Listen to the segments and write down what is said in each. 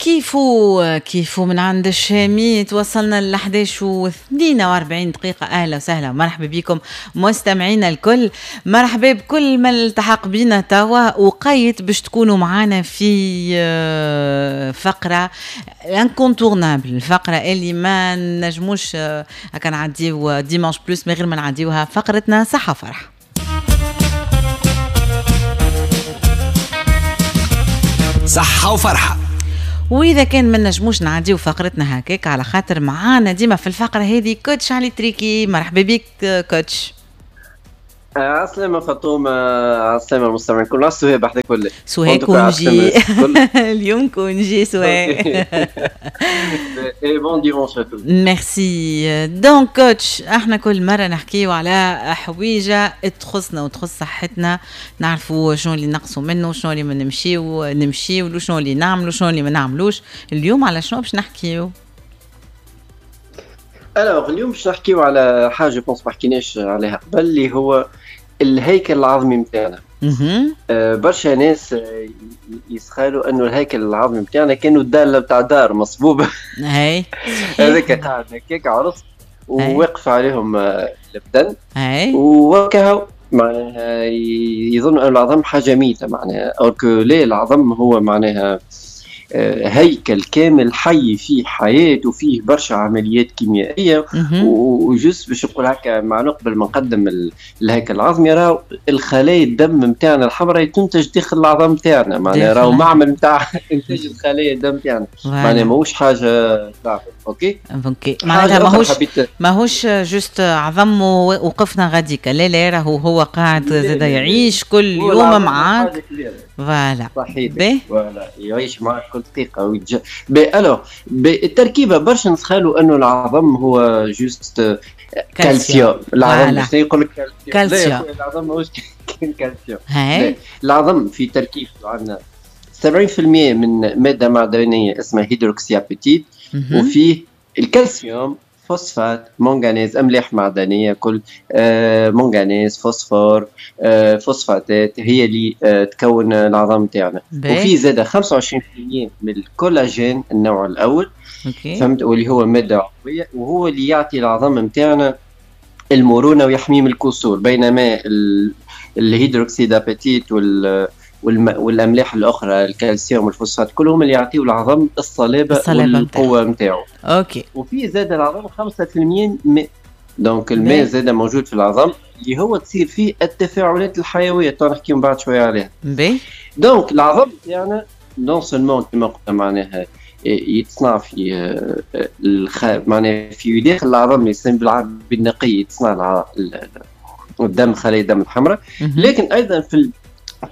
كيفو كيفو من عند الشامي. توصلنا ل 11:42 دقيقة. أهلا وسهلا ومرحبا بكم مستمعينا الكل، مرحبا بكل من التحق بينا توا وقيت باش تكونوا معنا في فقرة incontournable، الفقرة اللي ما نجموش هكا نعديو Dimanche Plus من غير ما نعديوها، فقرتنا صحة فرح. صحة وفرحة. وإذا كان ما نجموش نعديو فقرتنا هكاك على خاطر معانا ديما في الفقرة هذه coach علي تريكي. مرحبا بك coach. عسلامة فاطمة، عسلامة المستمعين كل. سهى بحذاك ولا سهى congé؟ اليوم congé سهى. Bon dimanche. Merci. Donc coach، احنا كل مرة نحكيو على حويجة تخصنا وتخص صحتنا، نعرفوا شنو اللي نقصوا منه، شنو اللي ما نمشيو، شنو اللي نعملوا، شنو اللي ما نعملوش. اليوم على شنو باش نحكيو؟ Alors اليوم باش نحكيو على حاجة pense ما حكيناش عليها قبل، اللي هو الهيكل العظمي نتاعنا. برشا ناس يسخالوا انه الهيكل العظمي نتاعنا كانوا الدالة بتاع دار مصبوبه. هاي هذاك قاعد هكاك عرس ووقف عليهم البدن وكهو، معناها يظنوا ان العظم حاجة ميته، معناها alors que لا، العظم هو معناها هيكل كامل حي فيه حياة وفيه برشا عمليات كيميائية. و juste باش نقول هكا مع قبل ما نقدم الهيكل العظمي، راهو الخلايا الدم نتاعنا الحمراء تنتج داخل العظم نتاعنا، معناها راهو معمل نتاع انتاج الخلايا الدم نتاعنا، معناها ماهوش حاجة تعرف. OK OK، معناتها ماهوش juste عظم ووقفنا غاديك، لا لا، راهو هو قاعد زاد يعيش كل يوم معاك. Voilà صحيح، voilà يعيش معك كل دقيقة ويتج. Alors بالتركيبة برشا نتخيلوا انه العظم هو juste calcium. العظم شنو يقول لك؟ calcium. العظم ماهوش كان calcium. العظم في تركيبته عندنا 70% من مادة معدنية اسمها hydroxyapatite، وفيه الكالسيوم، فوسفات، منغنيز، املاح معدنية كل، منغنيز، فوسفور، فوسفاتات هي اللي تكون العظام تاعنا. وفي زاد 25% من الكولاجين النوع الاول. فهمت، واللي هو مادة عضوية وهو اللي يعطي العظام نتاعنا المرونة ويحميه من الكسور، بينما ال hydroxyapatite والاملاح الاخرى الكالسيوم والفوسفات كلهم اللي يعطيو العظم الصلابة والقوه نتاعو. OK. وفي زاد العظم 5% ماء، donc الماء زاد موجود في العظم اللي هو تصير فيه التفاعلات الحيوية، تو نحكي من بعد شوية عليها. Donc العظم تاعنا non seulement كما قلنا معناها يتصنع في معناها في داخل العظم اللي يسمى بالعربي النقي، يتصنع الدم، خلايا الدم الحمراء، لكن ايضا في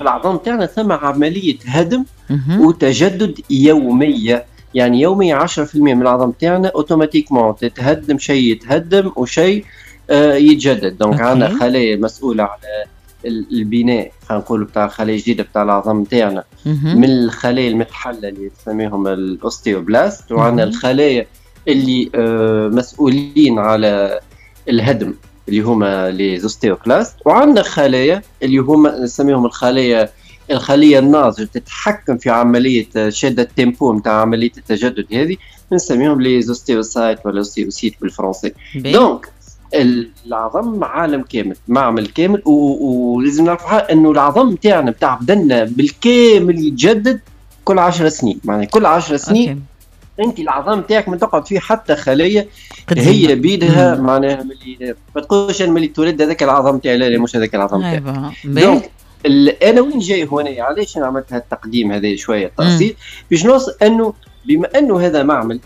العظام تاعنا ثم عملية هدم وتجدد يومية، يعني يوميا 10% من العظام تاعنا automatiquement تتهدم، شيء يتهدم وشيء يتجدد. Donc عندنا خلايا مسؤولة على البناء، خلينا نقولوا بتاع الخلايا الجديدة بتاع العظام تاعنا، من الخلايا المتحلة اللي نسميهم ال ostéoblastes، وعندنا الخلايا اللي مسؤولين على الهدم اللي هما les ostéoclastes، وعندنا خلايا اللي هما نسميهم الخلية الناضجة تتحكم في عملية شاده ال tempo نتاع عملية التجدد هذه، نسميهم les ostéocytes ولا ostéocytes بالفرنسي. Donc العظم عالم كامل، معمل كامل، ولازم نعرفوا انه العظم تاعنا بتاع بدنا بالكامل يتجدد كل 10 سنين، معناها كل 10 سنين. انت العظام تاعك ما تقعد فيه حتى خليه هي بيدها، معناها ملي ما تقولش انا ملي تولد هذاك العظام تاعي، لا لا مش هذاك العظام تاعي. Donc انا وين جاي هنا، علاش انا عملت هذا التقديم هذا شوية تأصيل باش نوصل انه بما انه هذا معمل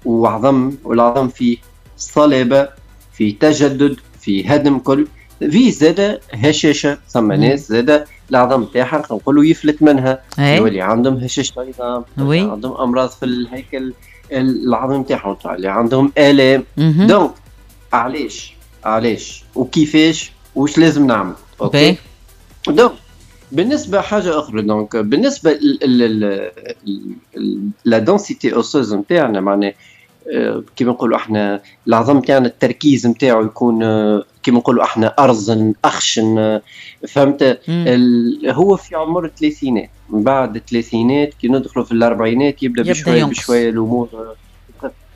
وعظم، والعظم فيه صلابة، فيه تجدد، فيه هدم، كل فيه زاد هشاشة. ثم ناس زاد العظم تاعها نقولوا يفلت منها، يولي عندهم هشاشة عظام، عندهم امراض في الهيكل العظم تاعهم، اللي عندهم الام. Donc علاش وكيفاش واش لازم نعمل؟ OK. Donc بالنسبة حاجة اخرى، donc بالنسبة la densité osseuse نتاعنا، معناها كيما نقولوا احنا العظم تاعنا التركيز نتاعو يكون كيما نقولوا احنا ارزن، اخشن، فهمت؟ هو في عمر الثلاثينات، من بعد الثلاثينات كي ندخلوا في الاربعينات يبدا بشوية بشوية الامور.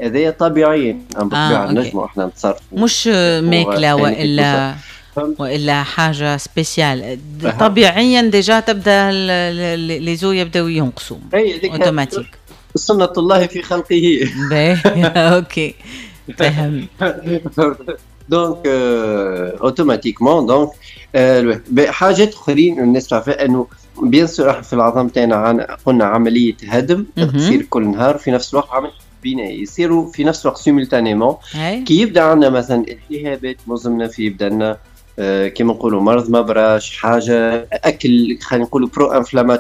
هذايا طبيعيا بالطبيعة نجموا احنا نتصرفوا. مش ماكله والا حاجة spéciale، طبيعيا déjà تبدا les os يبداو ينقصوا اوتوماتيك. سنة الله في خلقه. OK، فهم. donc automatiquement donc حاجات اخرين الناس تعرفها، انه bien sûr في العظم تاعنا قلنا عملية هدم تصير كل نهار، في نفس الوقت عملية بناء يصيروا في نفس الوقت simultanément. كي يبدا عندنا مثلا التهابات مزمنة في بدنا، كيما نقولوا مرض ما براش، حاجة اكل خلينا نقولوا pro-inflammatoire.